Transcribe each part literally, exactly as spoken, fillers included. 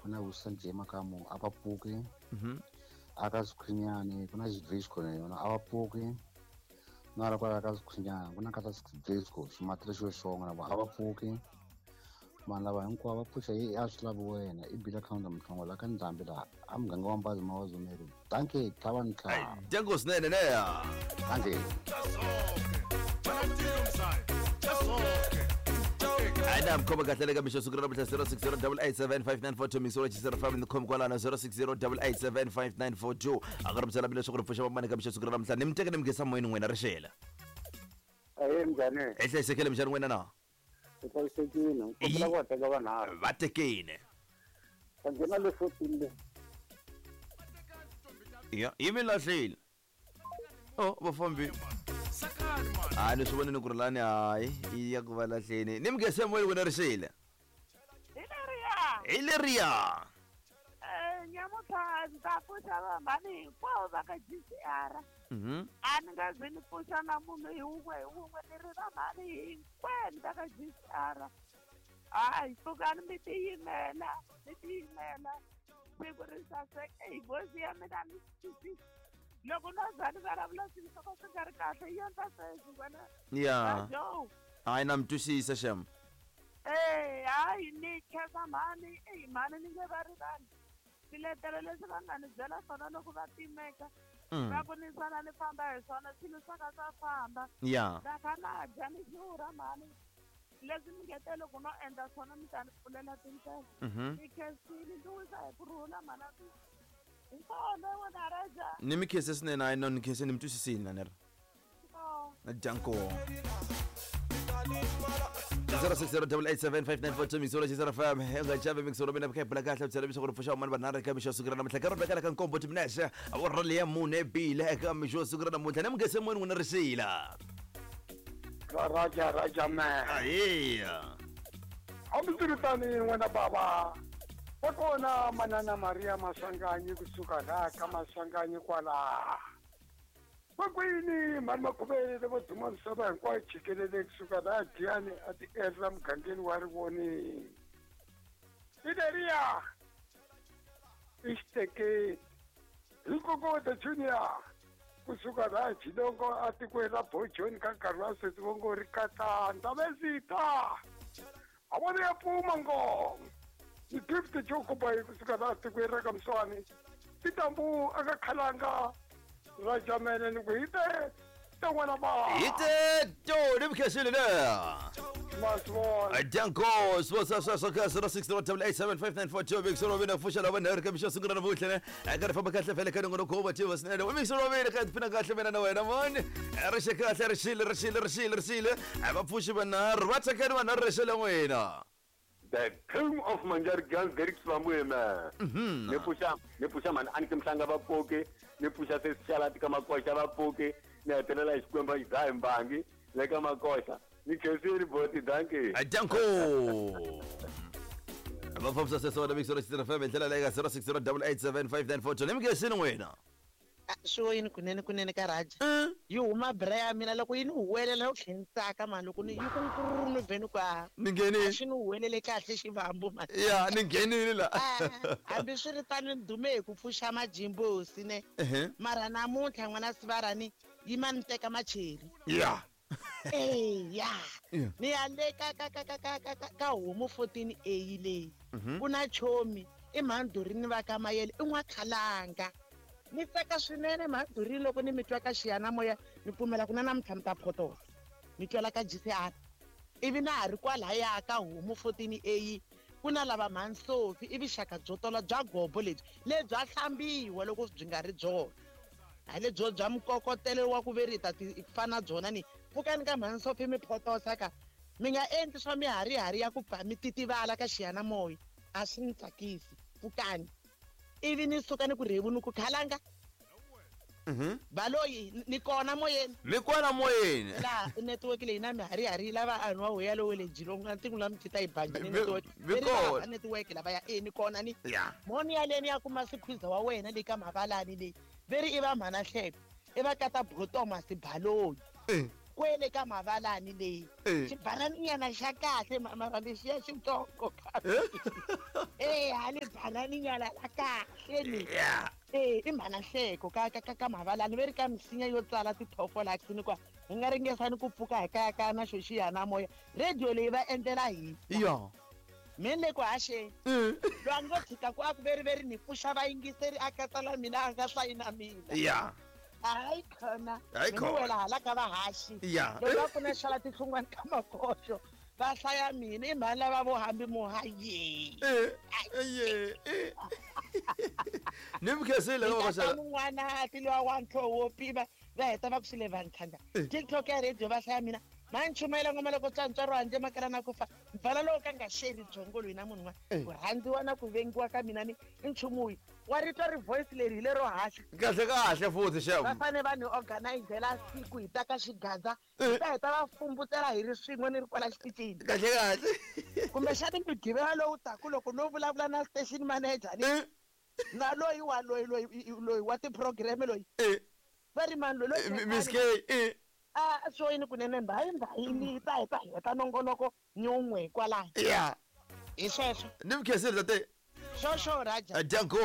ku na Wilson J Makamu a va pfuki. Aka Skhwinyani ku na Xidrisco na yona a va pfuki. Na la kwala ka Skhwinyani ku na kata Xidrisco ximatri xo xonga na a va pfuki. Vanhu lava hinkwavo va pfuxa hi a swi lavi wena i bila khawunta Mhlongo la ka Ndhambi laha a muganga wa Mbazi Mawazumeri. Dankie tlhava ni tlhava. Dyango swinene neya. Dankie. Aina mkhoma kahle le ka mixo siku ra namuntlha zero six zero double eight seven five nine four two mixo zero five ni khomi kwalano zero six zero double eight seven five nine four two a ka ri byela leswaku ri pfuxa vamani ka mixo siku ra namuntlha ni mi teke ni mi nghesa moyeni n'wina rixela. Ahee njhani? Hi hlayisekile minjhani n'wina na? Hi hlayisekile ni kombela ku va teka vanharhu. Va tekile. Va nghena le fourteen le. Ya yi mi lahlile. Oh va fambile. A ni swi vonile ku ri lani hayi yi ya ku va lahleni ni mi nghese moyeni wena rixile. Hi leriya. Hi leriya. Eh nyamuntlha ndzi ta pfuxa vamhani hinkwavo va ka G C R. A ni nga zi ni pfuxa na munhu hi wun'we hi wun'we ni ri vamhani hinkwenu va ka G C R. Hayi pfukani mi tiyimela mi tiyimela siku ri saseka hi voice ya mina ni twisisi. Loko no za ni vulavula swilo swo ka swi nga ri kahle yi endla sweswi wena. Ya. Hayi na mi twisisa xem. Eh hayi ni khensa mhani eyi mhani ni nge va rivali swiletelo leswi va nga ni byela swona loko va timeka va ku ni sala ni famba hi swona swilo swa ka swa famba. Ya. Na kha na dya ni xurha mhani leswi mi nge te loko no endla swona mi ta ni pfulela tindlela. Ni khensile ndzi wisa hi ku rhula mhana. Ni mi khense swinene hayi no ni khense ni mi twisisile na ni ri. Danko. zero six zero double eight seven five nine four two mixolo zero five hi nga chavi mixolo mina kha bula kahle byela leswaku ri pfuxa van'wana vanharhu eka mixo siku ra namuntlha ka ri vekela ka nkombo timinese awara leya mune bile eka mixo siku ra namuntlha ni mi nghese moyeni n'wina rixila. Raja raja man. Ahiya. Hambiswiritano n'wina baba. Va kona manana Maria Maswanganyi kusuka laha ka Maswanganyi kwala. Vakwini mhani Makhuvele vo duma misava hinkwayo jikelele kusuka laha Giyani a ti endla mugangeni wa Rivoni. Hi leriya i xiteketi hi Nkokoto Junior kusuka laha Jilongo a tikweni ra Bojoni ka nkarhi wa sweswi vo ngo ri katanda vesita a vona ya pfuma ngoma. Ni gift Jokubai kusuka laha tikweni ra ka Mswani titambu aka khalanga Rajamene ni ku hi te te n'wana ba hi te to ni mi khensile le. Danko swo swo swo ka zero six zero double eight seven five nine four two mixolo mina pfuxa lava nharhu ka mixo siku ra namuntlha ne a ka ri famba kahle vhele ka nongonoko wa tiva swinene wa mixolo mina ka tiphina kahle mina na wena mani ri xe kahle rixile rixile rixile rixile a va pfuxi vanharhu va tsakani vanharhu rixile n'wina. The king of Manjari Girls, Derek Swamwe, man. Ne pusha, ne pusha man, anike mhlanga va poke, ne pusha se shala tika makosha va poke, ne hetelela xikwembu xi dzaha mbangi le ka makosha. Ni khensile boti, dankie. Danko. Va fambisa sweswo na mixolo xi F M hi ndlela leyi ka zero six zero double eight seven five nine four two. Ni mi khensile n'wina. Swo yini kunene kunene ka Raja. Yi huma bra ya mina loko yi ni huwelela u tlhela ni tsaka mani loko ni yi ku nkururu ni vhe ni ku a ni nghenile. A xi ni huwelele kahle xivambu mani. Ya ni nghenile la. Hambi swi ri tano ni dume hi ku pfuxa majimbosi ne. Mara namuntlha n'wana Sivarani yi ma ni teka macheri. Ya. Eh ya. Ni ya le ka ka ka ka ka ka ka homu fourteen A leyi. Ku na chomi i mhandhurini va ka Mayele i n'wakhalanga. Ni tsaka swinene mhandhurini loko ni mi twa ka xiyanimoya ni pfumela ku na namuntlha mi ta photosa mi twela ka G C R ivi na ha ri kwalaya ka homu fourteen A ku na lava mhansofi i vuxaka byo tola bya gobo lebyi lebyi a hlambiwa loko byi nga ri byona hayi lebyo bya mikokotelo wa ku veri ta ti fana byona ni pfukani ka mhansofi mi photosa ka mi nga endli swa miharihari ya ku pfa mi titivala ka xiyanimoya a swi ni tsakisi pfukani. Ivi ni suka ni ku rhevu ni ku khalanga. Mhm. Baloyi ni kona moyeni. Mi kona moyeni. La network leyi na miharihari lava anwa hoya lowe le Jilongo na tingu la mtita yi bangi ni network. Mi kona network lava ya e ni kona ni. Yeah. Moni ya leni ya kuma sikhwiza wa wena le ka mavalani le. Veri i va mhana hleko. I va kata Bro Thomas Baloyi. Eh. Kwele ka mavalani leyi xibananinyana xa kahle mara lexiya xitsongo eh hali bananinyana la kahle ni eh i mhana hleko ka ka ka mavalani ve ri ka misinya yo tsala ti-prophylaxis kwa hi nga ringesani ku pfuka hi kaya kaya na xo xiyanimoya radio leyi va endlela hina ya me ni le ku haxeni loyi a ngo tshika ku a ku veri veri ni pfuxa vayingiseri a katsala mina a nga hlayina mina ya hayi khona Hayi khona. wela hala ka vahaxi Ya. loko va ku na xala tihlungwani ka makoxo va hlaya mina i mhani lava vo hambi muhaye eh eh eh ni mi khensile loko va xala mun'wana ti lowa wa ntlho wo pima va heta va ku xile vantlhanda TikTok ya radio va hlaya mina ma ni chumayela ngoma loko tswantswaro handle makala na ku fa mbala lowu ka nga xeri byongo loyi na munhu un'wana ku rhandziwa na ku vengiwa ka mina ni i nchumu wihi wa ri twa ri voice leri hi lero haxa kahle kahle futhi va xem fane va ni organizela siku hi ta ka xigaza hi ta heta va fumbutela hi ri swin'we ni ri kwala xitichini kahle kahle kumbexani mugqivela lowu taku loko no vulavula na station manager ni eh na loyi wa loyi loyi loyi wa ti-program loyi eh va ri mani loyi loyi Miss K eh a swo yini kunene mbayi mbayini hi ta hi ta heta nongonoko ni wun'we kwalaho ya hi sweswo ni mi khensile tate xo raja danko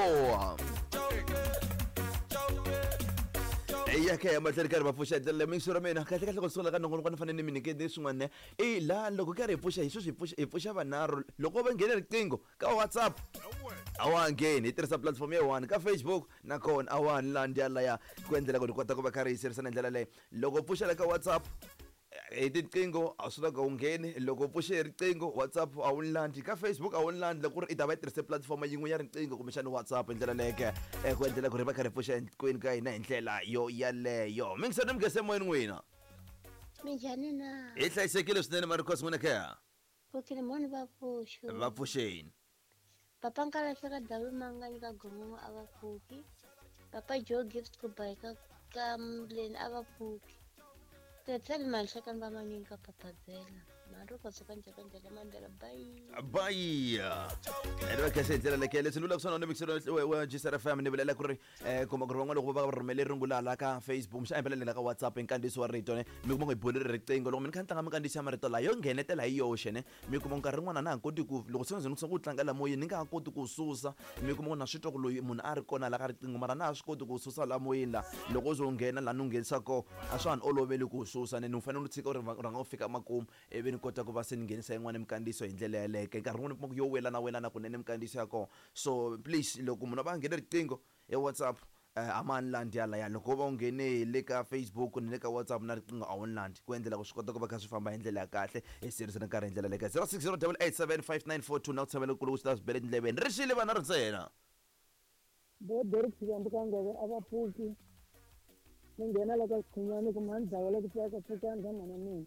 eya ka ya mahlweni karhi va pfuxa ndlela leyi ra mina kahle kahle ku sungula ka nongonoko ni fanele ni mi nyikete swin'wana i laha loko karhi hi pfuxa hi sweswi hi pfuxa hi pfuxa vanharhu loko va nghene riqingho ka WhatsApp a wa ha ngheni hi tirhisa platform ya one ka Facebook nakona a wa ha ni landzi yalaya ku endlela ku hi kota ku va karhi hi sirisana hi ndlela leyi loko u pfuxela ka WhatsApp hi tiqingho a swi lava u ngheni loko u pfuxe hi riqingho WhatsApp a wu landzi ka Facebook a wu landzi loko ku ri i ta va yi tirhise platform yin'we ya riqingho kumbexana WhatsApp hi ndlela leke ku endlela ku ri va karhi hi pfuxa hinkwenu ka hina hi ndlela yo yaleyo mingisani mi nghese moyeni n'wina Minjhani na? hi hlayisekile swinene maricos n'wina kaya Pfukile mhani va pfuxo. va pfuxeni Papa Nkalahle ka Davi Manganyi ka Gomomo a va pfuki. Papa Joe Gift ku ba ka ka Mleni a va pfuki. Tetsani manhlekani va manyingi ka Papazela. Mariko suka njhaka ndlela Mandela bye. bayi ene va khensa hi ndlela leke leswi ni vulaka swona ni mixero wa G C R F M ni vulela ku ri um kuma ku ri van'wana loko va va rhumele rungula la ka Facebook mxa impela la ka WhatsApp nkandziyiso wa rito ne mi kuma ku hi boleri riqingho loko mi ni kha ni tlanga minkandziyiso ya marito laha yo nghenetela hi yoxe ne mi kuma nkarhi rin'wana na ha koti ku loko se ni ku tlanga la moyeni ni nga ha koti ku susa mi kuma ku na swi twa ku loyi munhu a ri kona la ka riqingho mara na ha swi koti ku susa la moyeni la loko u ze u nghena laha ni u nghenisa kona a swa ha ni oloveli ku susa ne ni u fanele u tshika u ri rhanga u fika makumu ivi ni kota ku va se ni nghenisa yin'wana minkandziyiso hi ndlela yaleyo nkarhi wun'wani u kuma ku yo welana welana kunene minkandziyiso ya kona so please loko munhu a va a nghene riqingho hi WhatsApp a ma ni landzi yalaya loko wo va u nghene hi le ka Facebook ni le ka WhatsApp na riqingho a wu ni landzi ku endlela ku swi kota ku va kha swi famba hi ndlela ya kahle hi sirisana nkarhi hi ndlela leyi ka zero six zero double eight seven five nine four two na ku tshamela kulu ku swi ta swi bele tindleveni ri xile vana ri ntsena bo Derek Xikwembu ka ngove a va pfuki ni nghena la ka Xikhumani ku mhani dzawa la ku pfuka pfukani ka mhana mina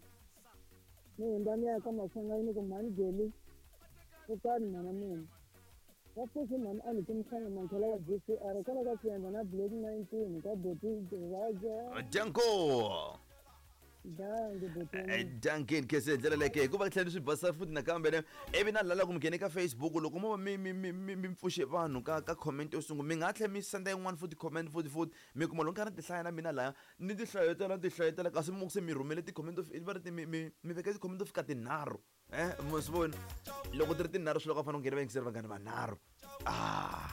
ni hundza ni ya ka Maswanganyi ku mhani Geli pfukani mhana mina va pfuxi mhani a ni timhlanga mankhela ya G C R kwala ka Siyandza na Black nineteen ka Boti Raja danko dangi Boti dankin kese hi ndlela leke hikuva tlhela ni swi basa futhi nakambe ne ivi na lala ku mi nghene ka Facebook loko mo va mi mi mi mi mi pfuxe vanhu ka ka comment yo sungula mi nga tlhela mi senda yin'wana futhi comment futhi futhi mi kuma loko nkarhi ni ti hlaya na mina laya ni ti hlayetela ni ti hlayetela kasi mi se mi rhumele ti-comment to va ri mi mi mi veke ti-comment to fika tinharhu eh mi swi vona loko ti ri tinharhu swi loko a fanele u nghena vayingiseri vanghani vanharhu ah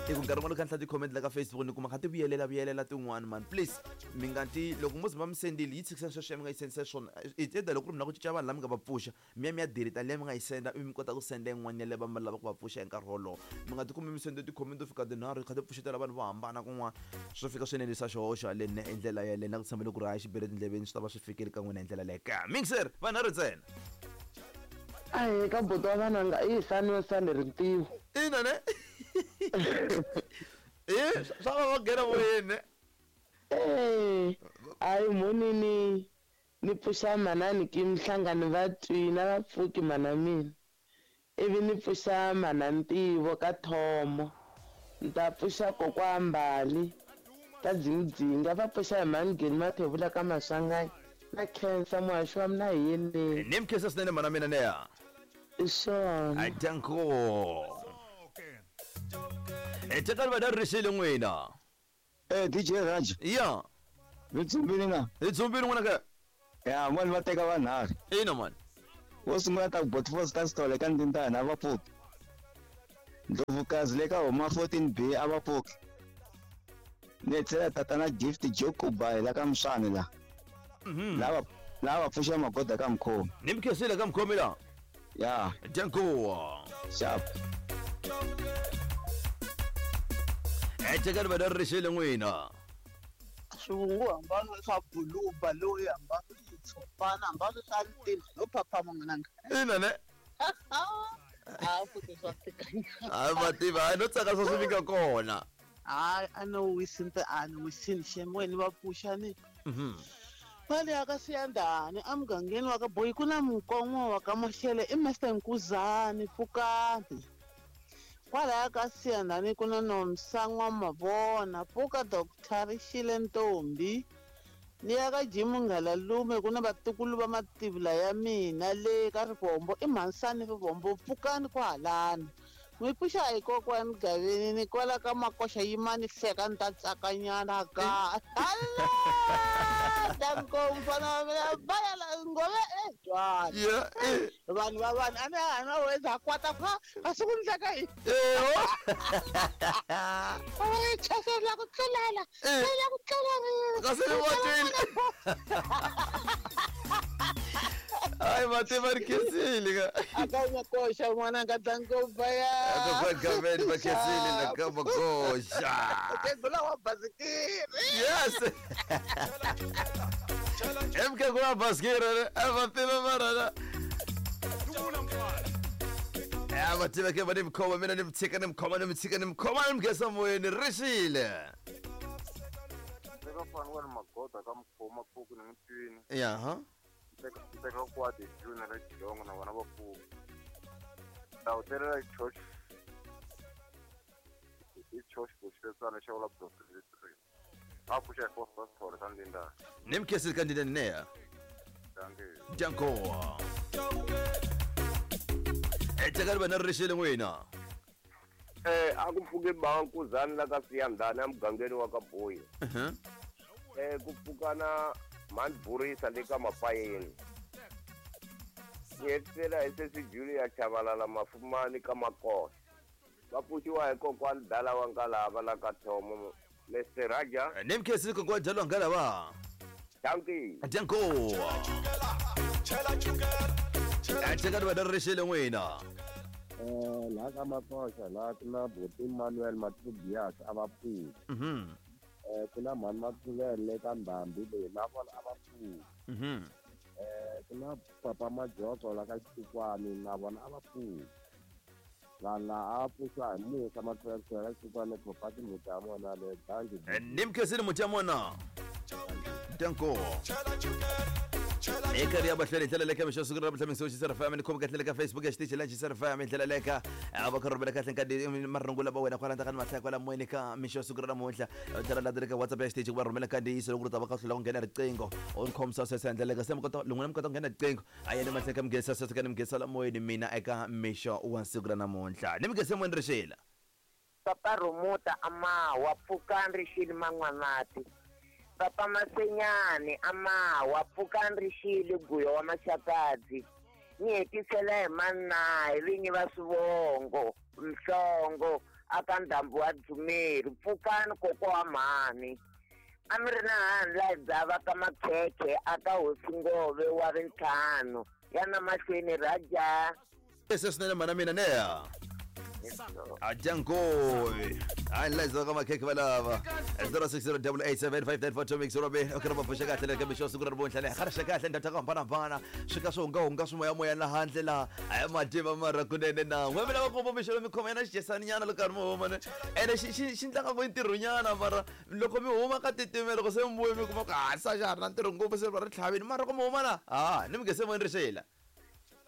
i ku nkarhi wun'wana kha ni hlaya ti-comment la ka Facebook ni kuma kha ti vuyelela vuyelela tin'wana man please mi nga ti loko mo ze va mi sendile yi tshikiseni sweswo mi nga yi sendisa swona it's either loko ku ri mi lava ku cinca vanhu lava mi nga va pfuxa mi ya mi ya delete liya mi nga yi senda ivi mi kota ku senda yin'wana ya leyi va mi lava ku va pfuxa hi nkarhi wolowo mi nga tikumi mi sende ti-comment to fika tinharhu kha ti pfuxetela vanhu vo hambana kun'wana swo fika swi enerisa xihoxo haleni hi ndlela yaleyo na ku tshembele ku ri hayi xi bele tindleveni swi ta va swi fikile ka n'wina hi ndlela leyo ka mixer vanharhu ntsena ahe ka buti wa vananga i hisani yo sani rintiwo ina ne eh swa va va nghena moyeni eh ayi mhonini ni pfuxa manani ki mhlangano va twina va pfuki mana mina ivi ni pfuxa mana ntivo ka thomo ni ta pfuxa kokwa mbali ta dzingidzinga va pfuxa hi mhani Mathevula ka Maswanganyi na khensa muhaxi wa mina hi yeleni ni mi khensa swinene mana mina neya i swona danko tekani va rixile n'wina eh D J Raj ya mi tsumbini na hi tsumbini n'wina ka Ya mani va teka vanharhu. Ina mani. Wo sungula ta ku Foster Sithole ka Ndindana a va pfuki. Ndlovukazi le ka homa fourteen B a va pfuki. Ni tlhela tatana Gift Jokubai la ka Mswani la. Mhm. Lava lava pfuxa magoda ka Mkhomi. Ni mkhesile ka Mkhomi la. Ya. Danko. Sharp. Ethekani va rixile n'wina. Swivungu hambana swa buluba loyi hambana tshopana hambana swa ntini no phaphama n'wananga. Ina ne. A futhi swa tika. A va tiva no tsaka swa swi fika kona. Hayi a no wisinte a ni wisini xemweni va pfuxa ni. Mhm. Pale aka Siyandhani emugangeni wa ka Boyi ku na Mukon'wa wa ka Maxele i Master Nkuzani Pfukani. Kwalaya ka Siyandhani ku na Nomsa N'wamavona pfuka Doctor Rixile Ntombi. Ni ya ka Jim Nghalalume ku na vatukulu va mativula ya mina le ka Rivombo i Mhansani Rivombo pfukani kwahalani. N'wi pfuxa hi kokwani Gaveni ni kwala ka Makoxa yimani hleka ni ta tsakanyana ka. Danko mfana wa mina baya la ngove eh jwani. Yeah. Vanhu va vanhu a ni a na weza kwata fa a swi ku ndleka yini. Eh. Ay chasela ku tlulela. Tlulela ku tlulela. Kasi ni watile. Ay mativa ri khensile ka. Aka Makoxa n'wananga danko baya. Aka Gaveni va khensile la ka Makoxa. Ukhegula wa basikiri. Yes. M K wa basikiri ava tiva mara. Ya va tiva ke va ni mkhoma mina ni mtshika ni mkhoma ni mtshika ni mkhoma ni mkhesa moyeni rixile. Teka fana wa magoda ka mkhoma pfuku ni mtwini. Ya ha. Teka kwati June la Chilongo na vana va pfuku. Ta hotelela church. I church kuxetsana xa wala block three. A pfuxa hi Foster Sithole ka Ndindana. Ni mkhesile ka Ndindana neya. Danko. Danko. Ethekani va na rixile n'wina. Eh a ku pfuke Bankuzani la ka Siyandhani emugangeni wa ka Boyi. Mhm. Eh ku pfuka na Mani Burisa le ka Mapayeni. Ni hetisela hi sesi Julia Chabalala Mafumani ka Makoxa. Va pfuxiwa hi kokwani Dala wa Ngalava la ka Thomo Mister Raja. Ni mkhesile kokwani Dala wa Ngalava. Dankie. Danko. Ethekani va na rixile n'wina. Eh la ka Makoxa la ku na Buti Manuel Matubias a va pfuki. Mhm. Eh ku na Mhani Makhuvele ka Ndhambi leyi na vona a va pfuki. Mhm. Eh ku na Papa Majoko la ka Xikwani na vona a va pfuki. Vanhu la a pfuxa hi Musa Makhuvele ka Xikwani Papa Mutamona le danki. Ni mkhesile Mutamona. Danko. Eka ri abahleli ndlela leka mixo siku ra mhla mixo xi R F M ni khoma kahle ka Facebook ya xitichi la xi R F M ndlela leka va ka rhumela kahle nkadi marungula ba wena kwala ndaka mahlaya kwala moyeni ka mixo siku ra namuntlha tlhela la ka WhatsApp ya xitichi ku va rhumela kandziyiso loko ri ta va ka hlula ku nghena riqingho o ni khomisa sweswo ndlela leka se mi kota loko mi kota ku nghena riqingho a yena mahlaya ka mugesa sweswo ka ni mugesa la moyeni mina eka mixo wa siku ra namuntlha ni mugesa moyeni rixila Papa Romota amawa pfukani rixile man'wanati. Papa Masenyane amawa pfukani rixile guyo wa Maxakadzi. Ni hetisela hi manayi vinyi va swivongo Mhlongo aka ndhambi wa Dzumeri pfukani kokwa wa mhani. A mi ri na hani la dzava ka Makhekhe aka hosi Ngove wa rintlhanu ya na mahlweni Raja. Leswi swinene mhana mina neya. Ajanko. Ai la ka Makhekhe valava. zero six zero eight eight seven five nine four two mix robe. Okay va pfuxa kahle le ka mixo siku ra namuntlha le khara kahle ndata ka hambana swi ka swi hunga hunga swi moya moya la handle la ai mativa mara kunene na n'we mina va komba mixo mi khoma yana xijesani nyana loko mi huma ne ene xi xi xi ndlanga ku ntirho nyana mara loko mi huma ka titimela loko se mi vuye mi kuma ku a sa xa ha ri na ntirho ngopfu se va ri tlhavini mara loko mi huma na ha ni mi nge se moyeni rixela.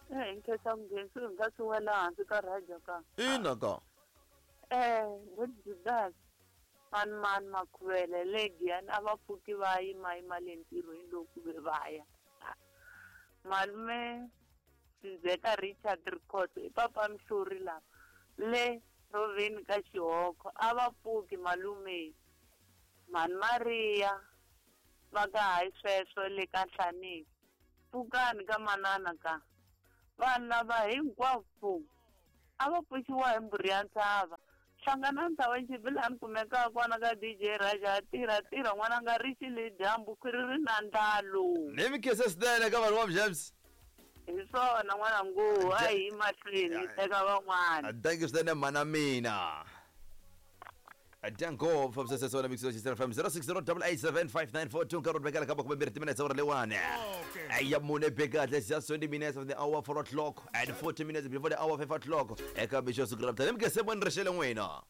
Eh nkhetsa mugezi nga swi wela hansi ka Raja ka. Ina ka. Eh Judas mani mani Makhuvele le Giyani a va pfuki va yima yima le ntirhweni loko ve va ya. Malume Sizeka Richard Rikhotso i papa Mhluri lava le Roveni ka Xihoko a va pfuki malume. Mhani Maria va ka hayi sweswo le ka Nhlaneki. Pfukani ka manana ka. Vanhu lava hinkwavo a va pfuxiwa hi mbhuri ya ntshava. Hlangana ntshava xibilani kumekaka kona ka D J Raja tirha tirha n'wana nga ri xile dyambu khwiri ri na ndlalo. Ni mi khensa swinene ka vanhu va James. Hi swona n'wana ngo a hi mahlweni hi teka van'wana. Thank you swinene mana mina. Danko from Sesona Mix F M zero six zero eight eight seven five nine four two nkarhi vekela ka makume mbirhi timinetse ora lewane. Aya mune beka just twenty minutes of the hour four o'clock and forty minutes before the hour five o'clock. Eka mixo siku ra mtani mke semoni rixele n'wina.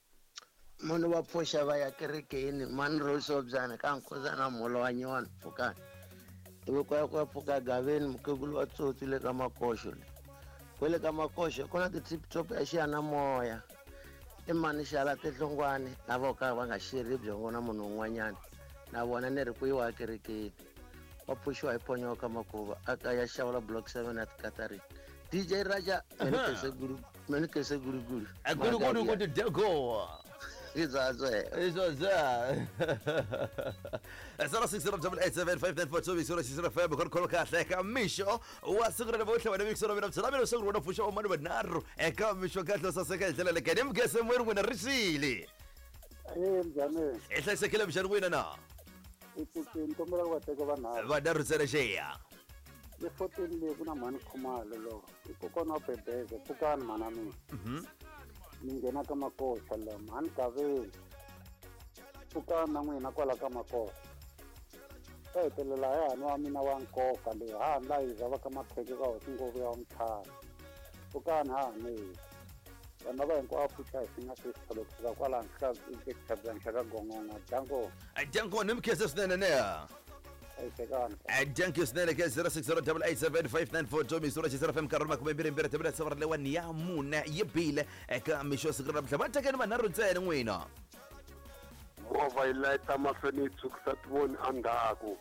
Munhu wa pfuxa va ya kerekeni mani ro sobyana ka nkozana mholo wa nyona pfukani. Tiveko ya ku pfuka gaveni mukhegulu wa tsotsi le ka makoxo le. Kwele ka makoxo ku na ti-tip top ya xiyanimoya. I mani xala tinhlongwane lava ka va nga xerhi byongo na munhu un'wanyana na vona ni ri ku yiwa ekerekeni wa pfuxiwa hi ponyoka makuva a ka ya xawula block seven at Katarin. D J Raja mene kese guruguru guruguru ku dego izazwe izazwe zero six zero eight eight seven five nine four two zero six zero five khona khona kahle ka mixo wa siku ra namuntlha wena mixo ra mina mina siku ra pfuxa wa mani vanharhu eka mixo kahle saseka hi ndlela leyi ni mugese mweri n'wina rixile. Eh mjane i hlayisekile mjani n'wina na i pfuxini kombela ku va teka vanharhu vanharhu ntsena xeya le fourteen leyi ku na mhani Khumalo lo i kokwana wa Bebeze pfukani mhana mina ni nghena ka makoxa la mhani Gaveni pfukani na n'wina kwala ka makoxa ta hetelela hi hani wa mina wa nkoka leyi ha la yi va ka makheke ka hosi ngopfu ya mthana pfukani ha ni vanhu lava hinkwavo pfuxa hi singa swi kusuka kwala hansi ka xitshabyangi xa ka Gongongo danko danko ni mi khensa swinene ne. Thank you swinene ka zero six zero eight eight seven five nine four two Misura Xisera F M nkarhi makume mbirhi mbirhi timinetse ra lewa ya mune yi bile eka mixo siku ra namuntlha va tekeni vanharhu ntsena n'wina. Movha yi layita mahlweni yi tshukisa tivoni endzhaku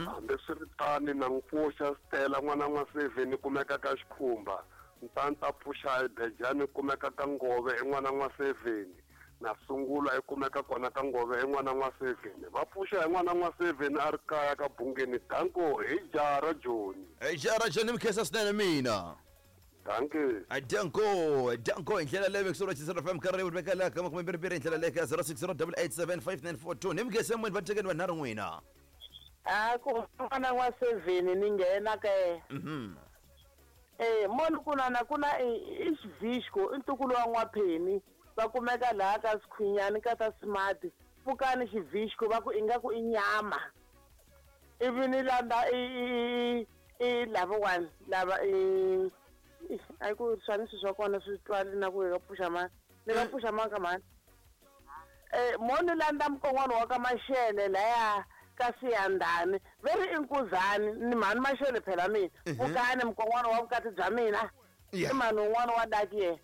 hambiswiritano na n'wi pfuxa Stella n'wana n'wa seven kumeka ka Xikhumba Ntanta pfuxa hi Bejani kumeka ka Ngove i n'wana n'wa seven na Sungula i kumeka kona ka Ngove i n'wana n'wa seven va pfuxa hi n'wana n'wa seven a ri kaya ka Bungeni danko hi jara Joni hi jara Joni mi khensa swinene mina. Danke. Danko danko hi ndlela leyi mixo ra Xisera F M nkarhi wu vekela ka makume mbirhi mbirhi hi ndlela leyi ka zero six zero eight eight seven five nine four two ni mi khensa n'wini va tekeni vanharhu n'wina. A ku n'wana n'wa seven ni nghena ke. Mhm. Eh moni kuna na kuna i xivixko i ntukulu wa n'wapheni va kumeka laha ka Sikhwinyani ka ta Smart pfukani xivixko va ku ingaku i nyama ivi ni landa i i lavawani lava i a ku swanisi swa kona swi twali na ku hi ka pfuxa mani ni nga pfuxa mani ka mani eh moni landa mukon'wana wa ka Maxele laya ka Siyandhani ve ri i Nkuzani ni mhani Maxele phela mina pfukani mukon'wana wa vukati bya mina i mhani un'wana wa daki yena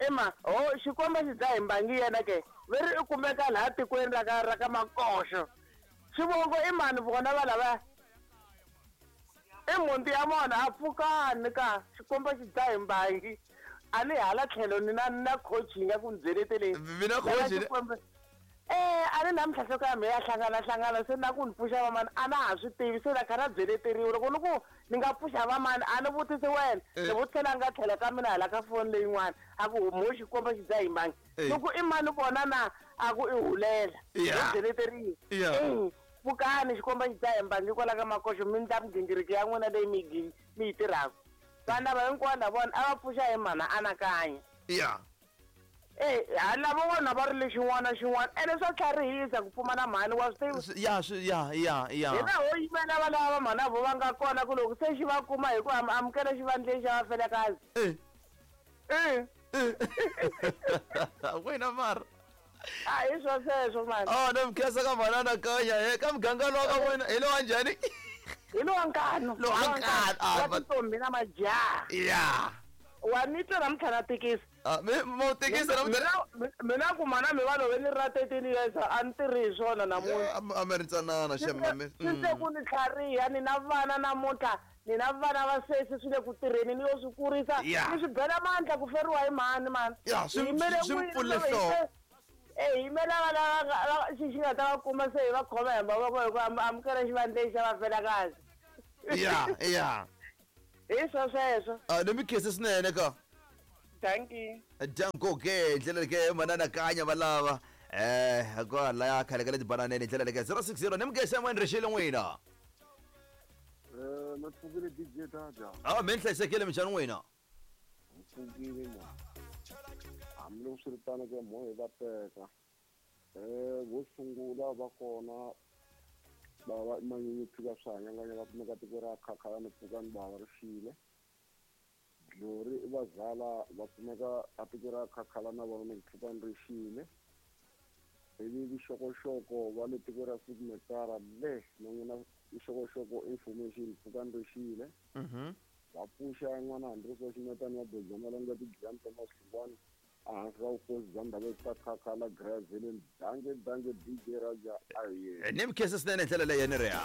ema ho xikomba xi dzaha hi mbangi yena ke ve ri i kumeka laha tikweni ra ka ra ka Makoxo xivongo i mani vona va lava i mhunti ya mona a pfukani ka xikomba xi dzaha hi mbangi a ni hala tlhelo ni na na coaching ya ku ni byeleteleni mina coaching eh a ni namuntlha nhloko ya mina ya hlangana hlangana se na ku ni pfuxa vamani a na ha swi tivi se na kha na byeleteriwa loko ni ku ni nga pfuxa vamani a ni vutisi wena ni vutisela a nga tlhela ka mina hala ka foni leyin'wana a ku mo xikomba xi dzaha hi mbangi loko i mani vona na a ku i hulela i byeleteriwa eh pfukani xikomba xi dzaha hi mbangi kwala ka Makoxo mi ndla migingiriko ya n'wina leyi mi mi yi tirhaka vana va hinkwavo na vona a va pfuxa hi mhana anakanya ya Eh lava vona va ri lexin'wana xin'wana ene swa tlharihisa ku pfumala mhani wa swi tiva ya swi ya ya ya hina ho yimela va lava mhana vo va nga kona ku loko se xi va kuma hi ku amukela xivandleni xa vafelekazi eh eh wena mara a hi swo sweswo mani oh ni mi khensa ka mhana anakanya he ka muganga lowa ka wena hi lowa njhani hi lowa nkanu lowa nkanu wa tintombi na majaha ya wa ni twa namuntlha na tekisi mo tekisa namuntlha mina ku mana mi va love ni ri na thirteen years a ni tirhi hi swona namuntlha a mi ri ntsanana xemame swi se ku ni tlhariha ni na vana namuntlha ni na vana va sesi swi le ku tirheni ni yo swi kurisa ni swi bela mandla ku feriwa hi mhani mani ya swi swi pfule nhloko eh yimela va lava xi xi nga ta va kuma se hi va khoma hi mavoko hi ku amukela xivandleni xa vafelakazi. Ya ya. Hi swo sweswo. A ni mi khensa swinene ka. Thank you. Danko ke ndlela ke manana kanya valava. Eh kwala ya khale ka le tibananeni ndlela leke zero six zero ni mi khensa n'wini rixile n'wina. Eh ma pfukile D J Dada. Ah mi hlayisekile minjhani n'wina? Pfukile na. Hambiloko swi ri tano ke mo hi va teka. Eh vo sungula va kona bava manyunyu phika swa hanyanganya va kumeka tiko ra Khakhala ni pfukani bava ri xile. Glory i vazala va kumeka a tiko ra Khakhala na vona ni pfukani ri xile. Ivi vixokoxoko va le tiko ra Sigmetara le na n'wina ixokoxoko information pfukani ri xile. Mhm. Va pfuxa n'wana Andres wa Ximetani wa Bojamalanga Tigiyani Thomas Hlungwani ehansi ka vukosi bya ndhawu ta Khakhala Grazileni dange dange D J Raja aye. Ni mi khensa swinene ndlela leyi ni ri ya.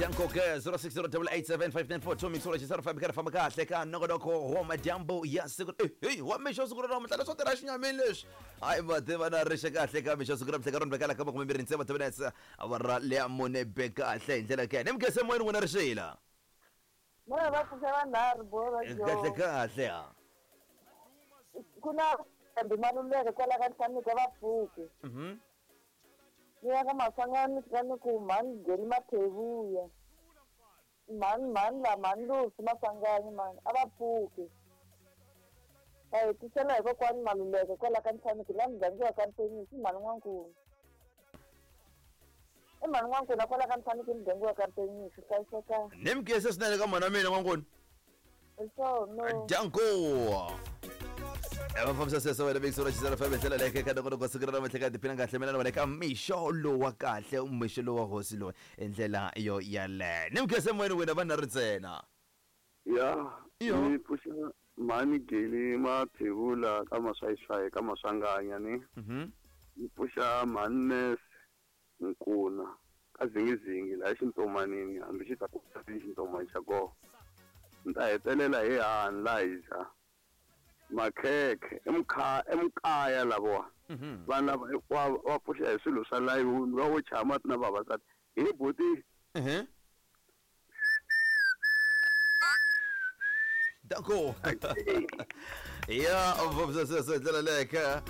Danko ke zero six zero eight eight seven five nine four two mixolo xi famba karhi famba kahle ka nongonoko wa madyambu ya siku eh wa mixo siku ra namuntlha leswo tirha xinyamini leswi hayi va tiva na rixe kahle ka mixo siku ra namuntlha ka rona bekala ka makume mbirhi tsevu minutes awara leya mune be kahle hi ndlela ke ni mi khensa moyeni n'wina rixila. Mona va pfuxa vanharhu bo va kahle kahle ha. Ku na kambe Maluleke kwala ka Ntlhamika va pfuki. Mhm. Ni ya ka Maswanganyi fika ni ku mhani Geli Mathevuya. Mhani mhani la mhani Lusi Maswanganyi mhani a va pfuki. Va hetisela hi kokwani Maluleke kwala ka Ntlhamika laha muganga wa ka Mpenisi mhani N'wankulu. I mhani N'wankulu kwala ka Ntlhamika muganga wa ka Mpenisi hlayiseka. Ni mi khensa swinene ka mhana mina N'wankulu. So no. Danko. Va fambisa sweswo wena mixo ra xizana famba ndlela leyi ka nongonoko siku ra namuntlha ka tiphina kahle mina na wena ka mixo lowa kahle mixo lowa hosi loyi hi ndlela yo yaleyo ni mi khensa moyeni wena vanhu ri ntsena. Ya ni pfuxa mhani Geli Mathevula ka Maswayiswayi ka Maswanganya ni. Mhm. Ni pfuxa mhani Nese Nkuna ka Zingizingi laha xintomanini hambi xi ta ku xintomani xa kona. Ni ta hetelela hi hani laha hi dya makhekhe emukha emukaya lavowa vanhu lava hinkwavo va pfuxa hi swilo swa layuni va wo chaya mati na vavasati hi buti. Mhm. Danko. Ya fambisa sweswo ndlela leyi ka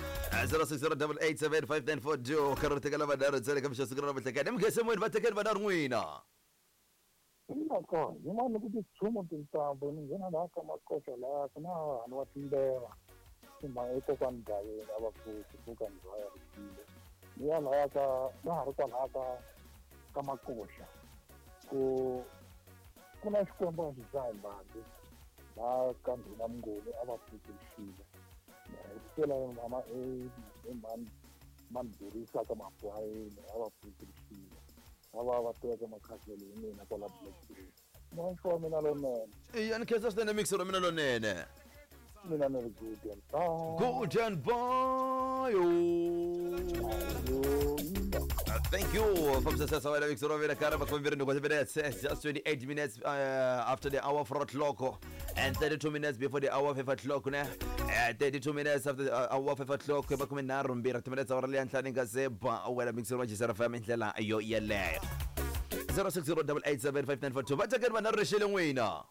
zero six zero eight eight seven five nine four two ka ri tekela vanharhu ntsena ka mixo siku ra namuntlha ka ni mi khensa moyeni va tekeni vanharhu n'wina. Inako yin'wana ku titshuma tintambu ni nghena laha ka Makoxa laha ku na vanhu va timbeva i kokwani Gaveni a va pfuki pfuka ndhawu ya rixile ni ya laya ka na ha ri kwalaya ka ka Makoxa ku ku na xikwembu a xi dzahi mbangi laha ka ndhuna Mnguni a va pfuki rixile hetisela mama i mhani mhani Dorisa ka Mapwayeni a va pfuki rixile va va teka makhaselo hi mina kwala Black. Mixo wa mina lonene. Iya ni khensa swinene mixo wa mina lonene. Mina ni ri good and bye. Good and bye. Thank you. Fambisa sweswo wena mixo wa mina karhi makume mbirhi nhungu minutes just twenty-eight minutes uh, after the hour four o'clock and thirty-two minutes before the hour five o'clock ne. Uh, thirty-two minutes after the uh, hour five o'clock makume nharhu mbirhi timinetse awara leya ntlhanu yi nga se ba wena mixo wa Jisara F M hi ndlela yo yeleyo. zero six zero eight eight seven five nine four two va tekeni vanharhu rixile n'wina.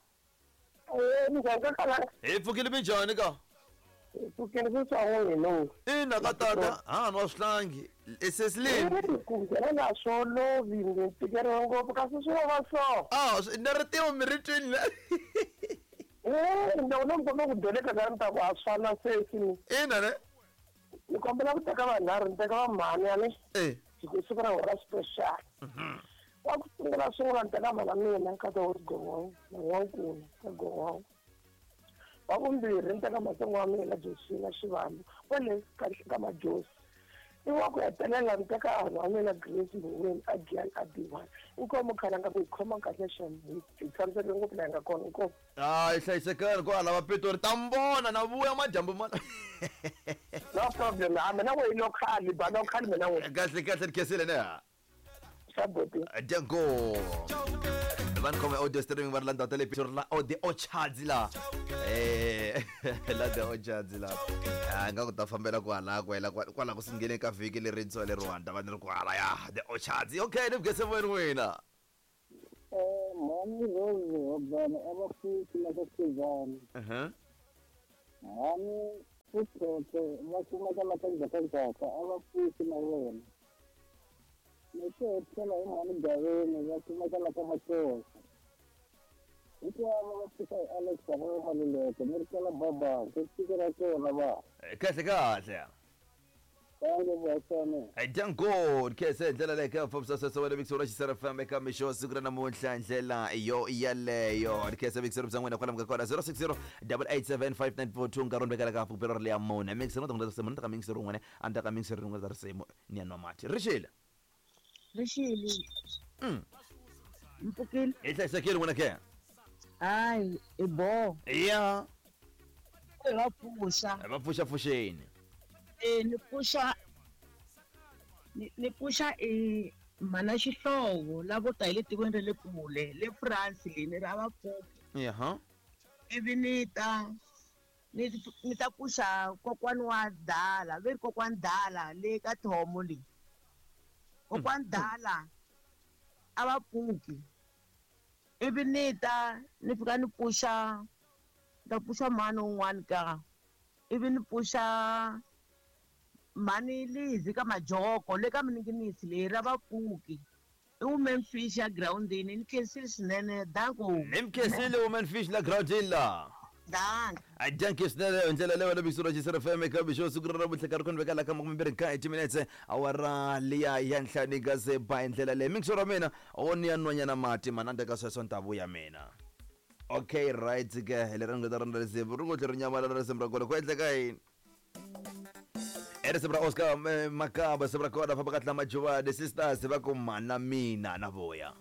Hi pfukile minjhani ka? Pfukile swa n'wina. Ina ka tata ha nwa swihlangi esesilini. Ku nghena na swo lovi ni tikeriwa ngopfu kasi swi va so. Ah na ri tiva mi ri twini la. Eh ndzi na mi ku deleka ka ni ta ku a swi fana sesi. Ina ne. Ni kombela ku teka vanharhu ni teka va mhani ya ni. Eh. Siku ra hora special. Wa ku sungula sungula ni teka mhana mina ka ta Gon'wana na N'wankulu ka Gon'wana. Wa vumbirhi ni teka matsongo wa mina Josina Xivambu kwale ka ka Majosi. I wa ku hetelela ni teka vanhu wa mina Grace Mboweni a Giyani a B one. Inkomu khalanga ku hi khoma kahle xem hi tshamisekile ngopfu laha hi nga kona inkomu. Hayi hlayisekani kwala va Pitori ta mi vona na vuya madyambu ma. No problem a mina n'we yi local ba local mina n'we. Kahle kahle ni khensile ne. Sabuti. Danko. Van khome audio streaming va ri la ndhawu ta le Pitori la the Orchards la. Eh la the Orchards la. Ah nga ku ta fambela kwala kwela kwala ku sunguleni ka vhiki lerintshwa leri Rwanda va ni ri kwala ya the Orchards. Okay ni vugese moyeni n'wina. Eh Mhani Rose Hobana a va pfuki na ka Sizani. Uh-huh. Mhani Futhotho va kumeka la ka Ndzhakandzhaka a va pfuki na vona. Ni to hetisela hi mhani Gaveni va kumeka la ka Makosa. Hinkwavo va pfuka hi Alex va Maluleke ni ri kala baba ku tiko ra kona va. Kahle kahle. Danko kese ndlela leyi ka fambisa sweswo wena mixo ra Xisera F M eka mixo siku ra namuntlha ndlela yo yaleyo kese mixo bya n'wina kwala ka kona zero six zero eight eight seven five nine four two nkarhi vekela ka pupelo ri leya mune mixo no ta risimu ni ta ka mixo rin'wana a ni ta ka mixo rin'wana ta risimu ni ya nwa mati rixile rixile mm mpfukile hi hlayisekile n'wina ke hayi i bo ya va pfuxa va pfuxa pfuxeni e ni pfuxa ni pfuxa e mana xihlovo lavo ta hi le tikweni ra le kule le France le ni ra va pfuki yeah ivi ni ta ni ni ta pfuxa kokwani wa Dala ve ri kokwani Dala le ka Thomo le kokwani Dala a va pfuki ivi ni ta ni fika ni pfuxa ta pfuxa mhani un'wana ka ivi ni pfuxa mhani Lizi ka Majoko le ka Mininginisi leyi ra va pfuki i woman fish ya groundini ni khensile swinene danko ni mi khensile woman fish la groundini la danko a danke swinene ndlela leyo na mixo ra Xisera F M eka mixo siku ra namuntlha nkarhi ku ni veka la ka makume nkaye timinetse awara liya ya ntlhanu nga se ba hi ndlela leyi mixo ra mina o ni ya nwanyana mati mana ndeka sweswo ni ta vuya mina okay right ke leri nga ta rhandza risimu ri ngo tlhe ri nyamalala risimu ra kona ku endleka yini risimu ra Oscar Makaba risimu ra kona famba kahle na Majuvani sisters va ku mana mina na vuya.